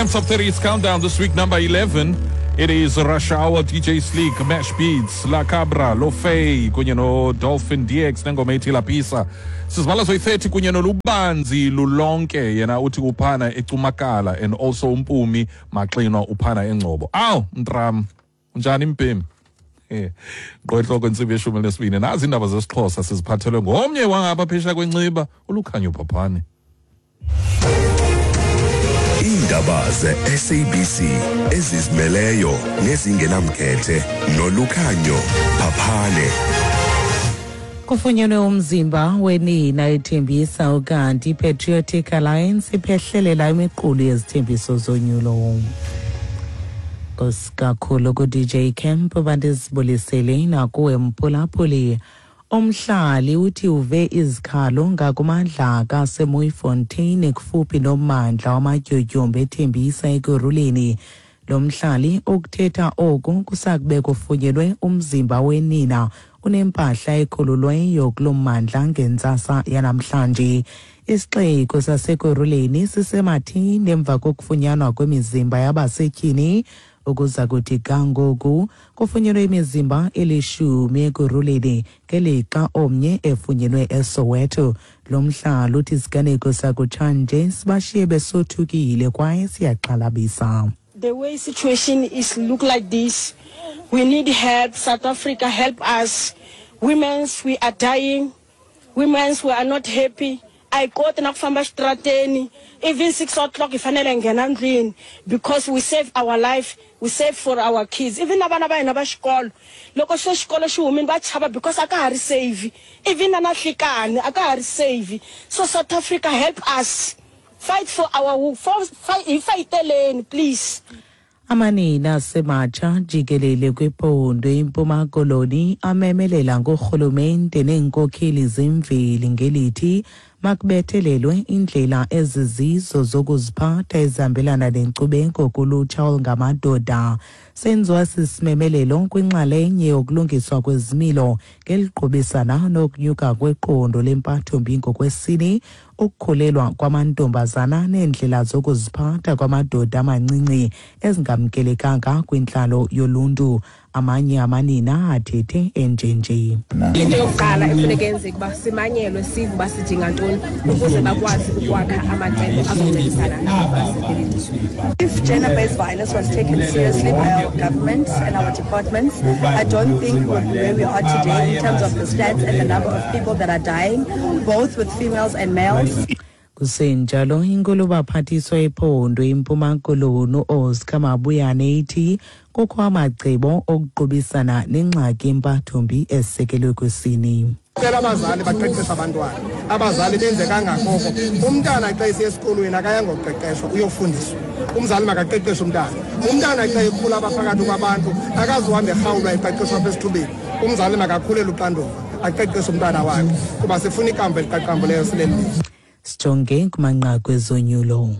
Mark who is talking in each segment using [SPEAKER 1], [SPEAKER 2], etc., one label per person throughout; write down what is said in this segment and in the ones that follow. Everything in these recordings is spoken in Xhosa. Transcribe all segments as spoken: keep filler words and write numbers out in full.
[SPEAKER 1] Top thirty is countdown this week, number eleven. It is Rush Hour, D J Sleek, Mash Beats, La Cabra, Lofay, kunye no Dolphin D X nengoma ethi La Pisa. Sizibala zoyi-thirty kunye nolubanzi lulonke, yena uthi uphana eCumakala, and also uMpumi Maxinwa uphana eNgcobo. Aw, Mntram, unjani mbhemi? Eh, ngqo intsimbi yeshumi nesibini. Nazi iindaba zesiXhosa siziphathelwe ngomnye wangapha phesheya kweNciba, uLukhanyo Phaphane.
[SPEAKER 2] Iindaba ze-S A B C ezizimeleyo nezingenamkhethe noLukhanyo Phaphane.
[SPEAKER 3] Kufunyenwe umzimba wenina eThembisa, ukanti iPatriotic Alliance iphehlelela imiqulu yezithembiso zonyulo. Kakhulu ku-D J Camp, bandizibulisele nakuwe mphulaphuli. Umhlali uthi uve izikhalo ngakumadlaka aseMooifontein kufuphi nommandla wamatyotyombe eThembisa eKurhuleni. Lo mhlali ukuthetha oku kusakube kufunyenwe umzimba wenina unempahla ekhululweyo kulo mmandla ngentsasa yanamhlanje. Isixeko saseKurhuleni sisematheni emva kokufunyanwa kwemizimba yabasetyhini. Ukuza kuthi ga ngoku kufunyenwe imizimba elishumi eKurhuleni, ngelixa omnye efunyenwe eSoweto. Lo mhlali uthi isiganeko sakutshanje sibashiye besothukile kwaye siyaxhalabisa.
[SPEAKER 4] The way situation is look like this, we need help. South Africa, help us. Women's, we are dying. Women's, we are not happy. A hi koti na ku famba xitarateni. Even six o'clock hi fanele hi nghena ndlwini because we save our life, we save for our kids, even na vana va hina va xikolo. Loko se xikolo xi humile va chava because a ka ha ri safe. Even na na nhlikani a ka ha ri safe. So South Africa, help us, fight for our for, fight, hi fayiteleni, please.
[SPEAKER 3] Amanina asematsha jikelele kwiphondo iMpuma Koloni amemelela ngurhulumente neenkokheli zemveli ngelithi makubethelelwe indlela ezizizo zokuziphatha ezihambelana nenkcubeko kulutsha olungamadoda. Senziwa sisimemelelo kwinxalenye yokulungiswa kwezimilo ngeliqubisana nokunyuka kweqondo lempathombi ngokwesini, ukukhulelwa kwamantombazana neendlela zokuziphatha kwamadoda amancinci ezingamkelekanga kwintlalo yoluntu. Amanye amanina athethe enjenje.
[SPEAKER 5] Into yokuqala efuneka yenzeke uba simanyelwe, sive uba sidinga ntoni ukuze bakwazi ukwakha amacebo azoncedisana nabo basekelizweni.
[SPEAKER 6] If gender-based violence was taken seriously by our government and our departments, I don't think we would be where we are today in terms of the stats and the number of people that are dying, both with females and males.
[SPEAKER 3] Kusenjalo, inkulubaphathiswa ephondo iMpuma Koloni uOscar Mabuyane ithi kukho amacebo okuqubisana nengxaki yempathombi esekelwe kwisini.
[SPEAKER 7] Cela abazali baqeqeshe abantwana, abazali benze kangakoko. Umntana xa esiya esikolweni akayangoqeqeshwa, uyofundiswa. Umzali makaqeqeshe umntana. Umntana xa ekhula apha phakathi kwabantu akazuhambe erhawulwa, eqeqeshwa apha esithubeni. Umzali makakhulele uxanduva, aqeqeshe umntana wakhe kuba sifuna ikamva eliqaqambuleyo sileli lizwe.
[SPEAKER 3] Sijonge kumanqaku ezonyulo.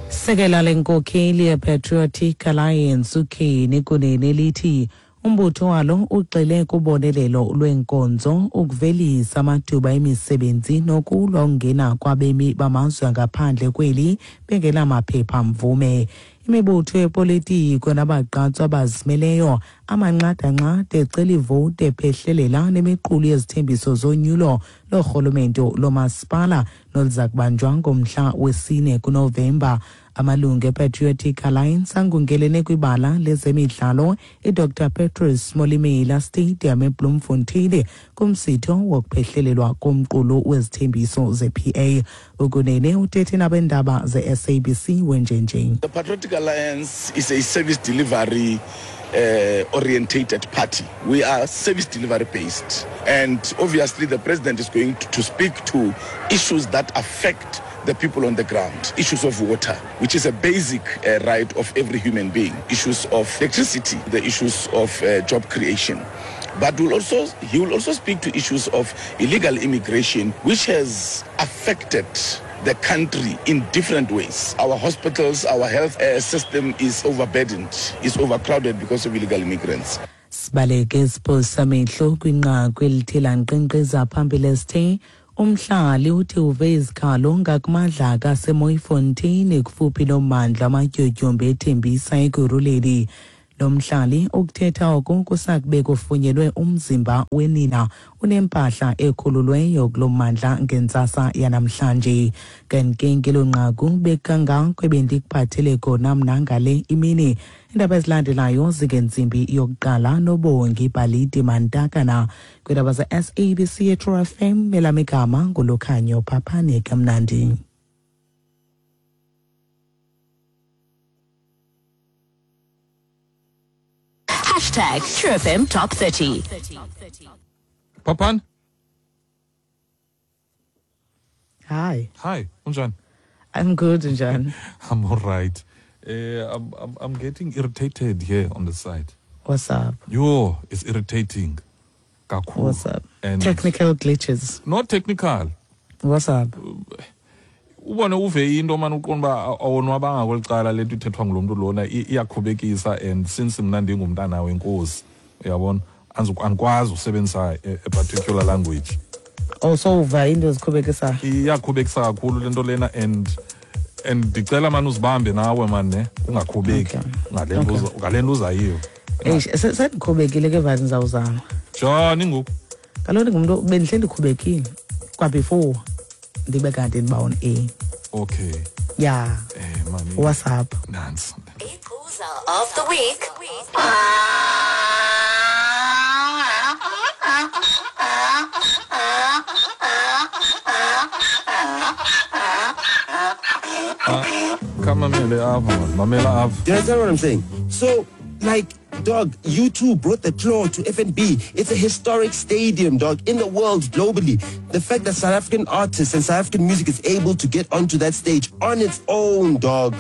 [SPEAKER 3] Sekela lenkokheli yePatriotic Alliance uKenny Kunene lithi umbutho walo ugxile kubonelelo lweenkonzo, ukuvelisa amathuba emisebenzi nokulwa ukungena kwabemi bamazwe angaphandle kweli bengenamaphepha mvume. Imibutho yepolitiko nabagqatswa abazimeleyo amanxadanxada ecela ivoti ephehlelela nemiqulu yezithembiso zonyulo lorhulumento lomasipala noluza kubanjwa ngomhla wesine kuNovemba. Amalungu ePatriotic Alliance angungelene kwibala lezemidlalo iDr Patrice Molemela Stadium eBloemfontein kumsitho wokuphehlelelwa komqulu wezithembiso ze-P A. UKunene uthethe nabendaba ze-S A B C wenjenje.
[SPEAKER 8] The Patriotic Alliance is a service delivery uh, orientated party. We are service delivery based. And obviously, the president is going to, to speak to issues that affect the people on the ground. Issues of water, which is a basic uh, right of every human being. Issues of electricity, the issues of uh, job creation. But will also, he will also speak to issues of illegal immigration, which has affected the country in different ways. Our hospitals, our health uh, system is overburdened, is overcrowded because of illegal immigrants.
[SPEAKER 3] Sibaleke siphosa amehlo kwinqaku elithe lankqenkqeza phambili esithe Umhlali uthi uve izikhalo ngakumadlaka aseMooifontein kufuphi nommandla amatyotyombe eThembisa Ekurhuleni. Lo mhlali ukuthetha oku kusakube kufunyenwe umzimba wenina unempahla ekhululweyo kulo mmandla ngentsasa yanamhlanje. Kanti ke ngelo nqaku bekangako ebendikuphathele kona mna ngale imini. Iindaba ezilandelayo zingentsimbi yokuqala noBongi Bhaliti Mantakana. Kwiindaba ze-S A B C True F M, elam igama nguLukhanyo Phaphane. Kamnandi.
[SPEAKER 9] Hashtag True F M Top thirty.
[SPEAKER 1] Papan?
[SPEAKER 3] Hi.
[SPEAKER 1] Hi, unjani?
[SPEAKER 3] I'm good, unjani?
[SPEAKER 1] I'm all right. Uh, I'm, I'm, I'm getting irritated here on the side.
[SPEAKER 3] What's up?
[SPEAKER 1] Yo, it's irritating. Kakhulu.
[SPEAKER 3] What's up?
[SPEAKER 1] And
[SPEAKER 3] technical glitches.
[SPEAKER 1] Not technical.
[SPEAKER 3] What's up?
[SPEAKER 1] Ubone uve into manje uqonda ba awonwabanga kwelicala lento ithethwa ngulomntu lona iyakhubekisa, and since mina ndingumntana wenkosi uyabona andikwazi usebenzisa a particular language.
[SPEAKER 3] Also uva into ezikhubekisa.
[SPEAKER 1] Iyakhubekisa kakhulu lento lena, and and ndicela manje uzibambe nawe man ne ungakhubeki ngalento ngalento uzayiyo.
[SPEAKER 3] Eish sendikhubekile ke vazi ndizawuzama.
[SPEAKER 1] Njani ngoku?
[SPEAKER 3] Kaloku ngumuntu bendihle ndikhubekile kwa before ndibe kanti ndiba on A.
[SPEAKER 1] Okay.
[SPEAKER 3] Yeah.
[SPEAKER 1] Eh mami.
[SPEAKER 3] What's up?
[SPEAKER 1] Nonsense.
[SPEAKER 9] Of the week.
[SPEAKER 1] Kamamele apha, mamela apha.
[SPEAKER 10] Do you understand what I'm saying? So, like, dog, you two brought the claw to F N B. It's a historic stadium, dog, in the world, globally. The fact that South African artists and South African music is able to get onto that stage on its own, dog,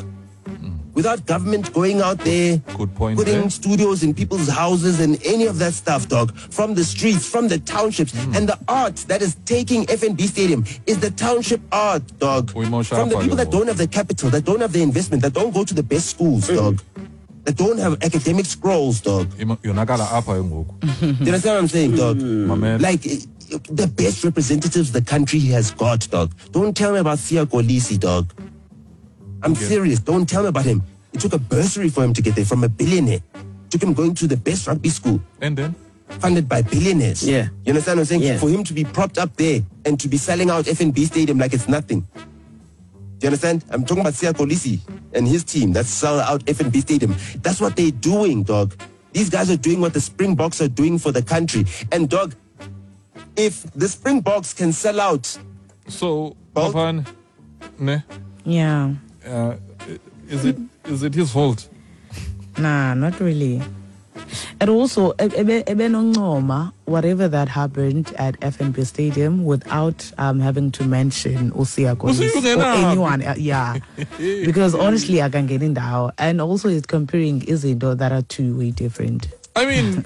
[SPEAKER 10] mm. without government going out there,
[SPEAKER 1] good point,
[SPEAKER 10] putting
[SPEAKER 1] eh?
[SPEAKER 10] studios in people's houses and any of that stuff, dog, from the streets, from the townships. Mm. And the art that is taking F N B Stadium is the township art, dog. From the people that don't have the capital, that don't have the investment, that don't go to the best schools, dog. That don't have academic scrolls, dog. Do you understand what I'm saying, dog?
[SPEAKER 1] Mm.
[SPEAKER 10] Like, the best representatives the country has got, dog. Don't tell me about Siya Kolisi, dog. I'm
[SPEAKER 1] okay.
[SPEAKER 10] serious. Don't tell me about him. It took a bursary for him to get there from a billionaire. It took him going to the best rugby school.
[SPEAKER 1] And then?
[SPEAKER 10] Funded by billionaires.
[SPEAKER 11] Yeah.
[SPEAKER 10] You understand what I'm saying?
[SPEAKER 11] Yeah.
[SPEAKER 10] For him to be propped up there and to be selling out F N B Stadium like it's nothing. Do you understand? I'm talking about Siya Kolisi and his team that sell out F N B Stadium. That's what they're doing, dog. These guys are doing what the Springboks are doing for the country. And, dog, if the Springboks can sell out...
[SPEAKER 1] So, Papan, ne?
[SPEAKER 3] Yeah.
[SPEAKER 1] Uh, is it is it his fault?
[SPEAKER 3] Nah, not really. And also, whatever that happened at F N B Stadium without um, having to mention Usiya Kolisi or anyone. Uh, yeah. Because honestly, I can get in now. And also, it's comparing izinto that are two way different.
[SPEAKER 1] I mean,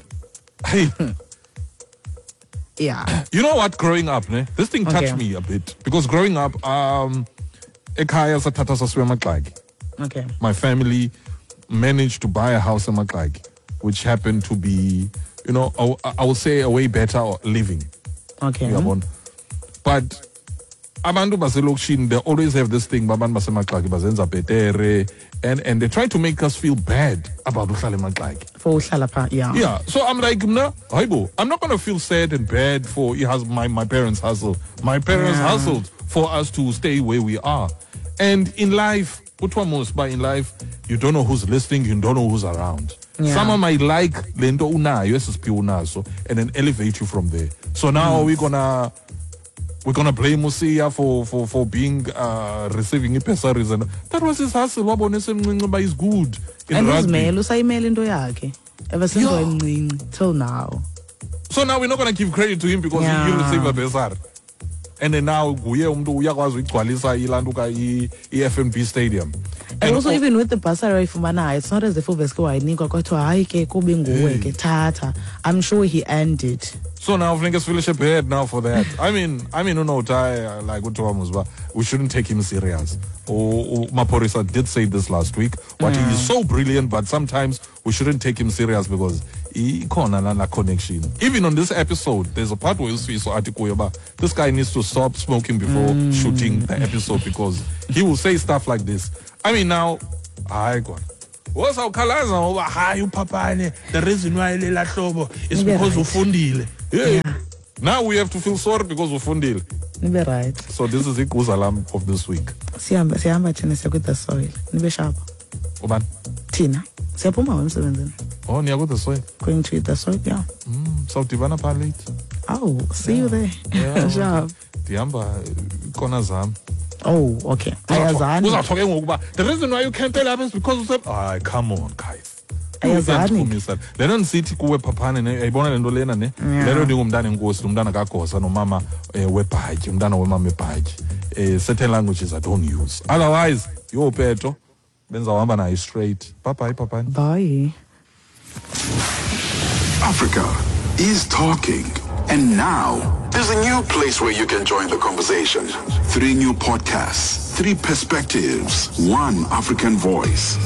[SPEAKER 1] hey.
[SPEAKER 3] Yeah.
[SPEAKER 1] You know what? Growing up, ne? This thing touched
[SPEAKER 3] okay.
[SPEAKER 1] me a bit. Because growing up, um, ekhaya sathatha sasiwe eMaxaki.
[SPEAKER 3] Okay.
[SPEAKER 1] My family managed to buy a house in Maxaki, which happened to be, you know, I, I would say a way better living.
[SPEAKER 3] Okay.
[SPEAKER 1] Uyabona? But abantu baselokishini, they always have this thing, abantu basemaxaki bazenza betere, and, and they try to make us feel bad about uhlala emaxaki.
[SPEAKER 3] For uhlala pha, yeah.
[SPEAKER 1] Yeah. So I'm like, no, haibo, I'm not going to feel sad and bad for my, my parents' hustle. My parents
[SPEAKER 3] yeah.
[SPEAKER 1] hustled for us to stay where we are. And in life, but in life, you don't know who's listening, you don't know who's around.
[SPEAKER 3] Yeah.
[SPEAKER 1] Someone might like lento unayo, S S P unaso, and then elevate you from there. So now mm. we're gonna we're gonna blame Usiya for for for being uh, receiving bursaries, and that was his hustle. But he's good in
[SPEAKER 3] and
[SPEAKER 1] rugby.
[SPEAKER 3] And usayimele into yakhe ever since wayemncinci till now.
[SPEAKER 1] So now we're not gonna give credit to him because
[SPEAKER 3] yeah.
[SPEAKER 1] he, he received a bursary. And then now nguye umuntu uyakwazi uyigcwalisa ilantuka i-F N B Stadium.
[SPEAKER 3] And, and also all, even with the bursary ayifumanayo, it's not as if uveske wayinikwa kwathiwa hayi ke kube nguwe ke thatha. I'm sure he earned it.
[SPEAKER 1] So now funeka sifilishe bad now for that. I mean, I mean uNota like uthiwa muzba, we shouldn't take him serious. O Maphorisa did say this last week. What
[SPEAKER 3] yeah.
[SPEAKER 1] he is so brilliant, but sometimes we shouldn't take him serious because Ikhona la la connection. Even on this episode, there's a part where uSifiso athi kuye uba this guy needs to stop smoking before mm. shooting the episode because he will say stuff like this. I mean, now, hayi kona. Wosawukhalaza ngoba
[SPEAKER 11] hayi uPhaphane, the reason why lela hlobo is because ufundile.
[SPEAKER 1] Yeah. Now we have to feel sorry because ufundile.
[SPEAKER 3] Nibe right.
[SPEAKER 1] So this is iguza lam of this week.
[SPEAKER 3] Sihamba sihamba thina siya with the soil. Nibe sharp.
[SPEAKER 1] Ubani?
[SPEAKER 3] Thina. Siyaphuma emsebenzini.
[SPEAKER 1] Oh, niya with the soil.
[SPEAKER 3] Going to eat the soil, yeah.
[SPEAKER 1] Mm, sawudibana pha late.
[SPEAKER 3] Oh, see
[SPEAKER 1] yeah.
[SPEAKER 3] you there.
[SPEAKER 1] Yeah.
[SPEAKER 3] Sharp.
[SPEAKER 1] Ndihamba ikona zam.
[SPEAKER 3] Oh, okay. Ayazani.
[SPEAKER 1] Uzawutho ke ngoku uba the reason why you can't tell us is because you ah, come on, guys.
[SPEAKER 3] Ayazani.
[SPEAKER 1] Le nto ndisithi kuwe Phaphane ne ayibona le nto lena ne. Le nto ndingumntana enkosi, umntana kaGosa nomama webhatyi, umntana wemama ebhatyi. Eh certain languages I don't use. Otherwise, yo Peto benzawuhamba naye straight. Bye bye Phaphane.
[SPEAKER 3] Bye.
[SPEAKER 12] Africa is talking. And now, there's a new place where you can join the conversation. Three new podcasts, three perspectives, one African voice.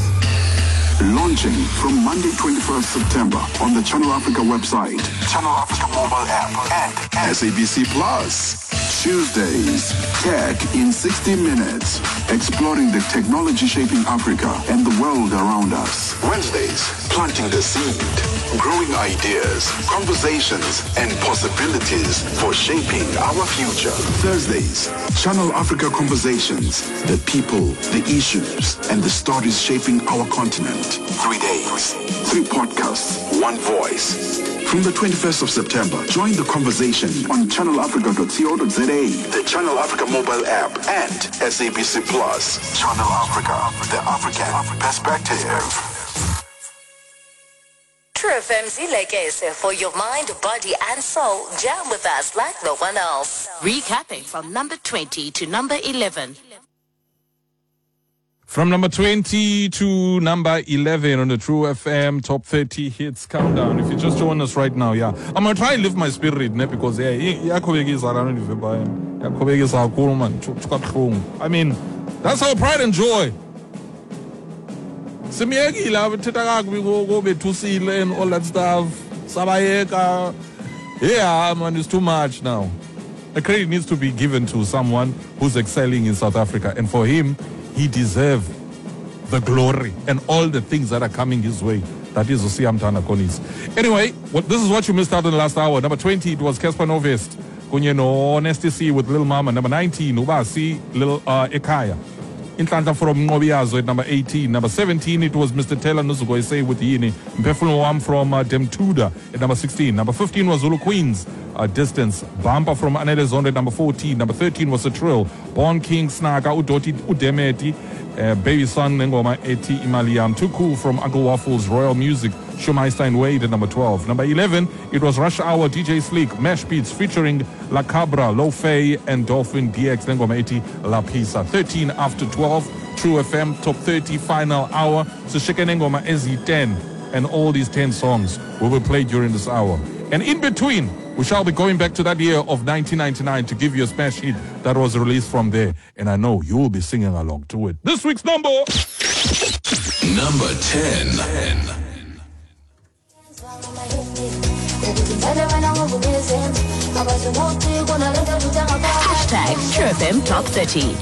[SPEAKER 12] Launching from Monday, twenty-first September on the Channel Africa website, Channel Africa mobile app, and S A B C Plus. Tuesdays, Tech in sixty minutes, exploring the technology shaping Africa and the world around us. Wednesdays, planting the seed, growing ideas, conversations, and possibilities for shaping our future. Thursdays, Channel Africa Conversations, the people, the issues, and the stories shaping our continent. Three days, three podcasts, one voice. From the twenty-first of September, join the conversation on channel africa dot co dot za, the Channel Africa mobile app, and S A B C Plus. Channel Africa, the African perspective.
[SPEAKER 9] True F M Zilekese for your mind, body, and soul. Jam with us like no one else. Recapping from number twenty to number eleven.
[SPEAKER 1] From number twenty to number eleven on the True F M Top thirty Hits Countdown. If you just join us right now, yeah. I'm going to try and lift my spirit, ne, because yeah, I mean, that's our pride and joy. And all that stuff. Yeah, man, it's too much now. The credit needs to be given to someone who's excelling in South Africa. And for him, he deserves the glory and all the things that are coming his way. That is Usiyamthanda Kolisi. Anyway, what, this is what you missed out in the last hour. Number twenty, it was Cassper Nyovest. Kunye no Nasty C with Lil Mama. Number nineteen, Ubasi Lil uh, Ekaya. Inhlanhla from Nqobiyazo at number eighteen. Number seventeen, it was Mister Taylor Nuzugoise with Yini. Mphefumulo Wam from uh, Demtuda at number sixteen. Number fifteen was Zulu Queens, uh, Distance. Bumper from Anele Zondo at number fourteen. Number thirteen was a Trill. Born King Snaka, Udoti Udemeti, uh, Baby Son Ngoma Eti Imaliam. Too Cool from Uncle Waffles, Royal Music, Shumaistein Wade at number twelve. Number eleven, it was Rush Hour, D J Sleek, Mesh Beats featuring La Cabra, Lo Fei, and Dolphin D X, Ngoma Eti La Pisa. thirteen after twelve, True F M Top thirty Final Hour. So Ngoma S E ten, and all these ten songs will be played during this hour. And in between, we shall be going back to that year of nineteen ninety-nine to give you a smash hit that was released from there. And I know you will be singing along to it. This week's number...
[SPEAKER 12] Number ten.
[SPEAKER 9] Hashtag True F M Top thirty.